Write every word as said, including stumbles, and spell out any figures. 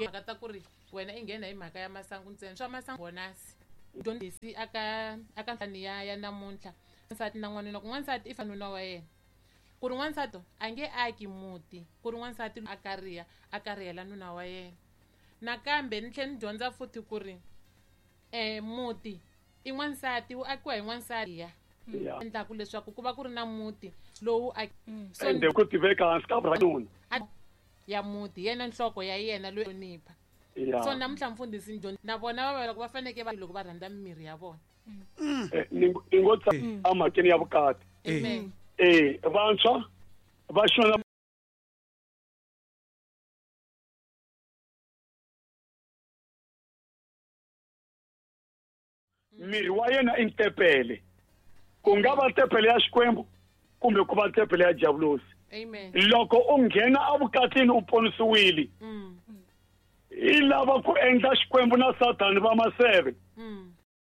Mhaka ta ku ri wena i nghena hi mhaka ya masangu ntsena swa masangu bonasi dyondzisi aka aka nhlani ya ya namuntlha nsati na n'wanuna ku n'wansati i fanuna wa yena ku ri n'wansati a nge aki muti ku ri n'wansati a kariha a karihela nuna wa yena nakambe ni tlhela ni dyondza futhi ku ri um muti i n'wansati wu akiwa hi n'wansati ya endlaku leswaku ku va ku ri na muti lowu so ende ku tiveka hansi ka nuna ya muti yena nhloko ya yena loyi hlonipha so namuntlha mfundhisi ni na vona va loko va fanekele va loko va rhandza mimiri ya vona ni ngo emhakeni ya vukati eh vantshwa va xona miri wa yena i ntepele ku nga va tempele ya Xikwembu kumbe ku va tempele ya Diabolosi. Amen. Loko u nghena evukatini u ponisiwile i lava ku endla Xikwembu na Sathani va maseve.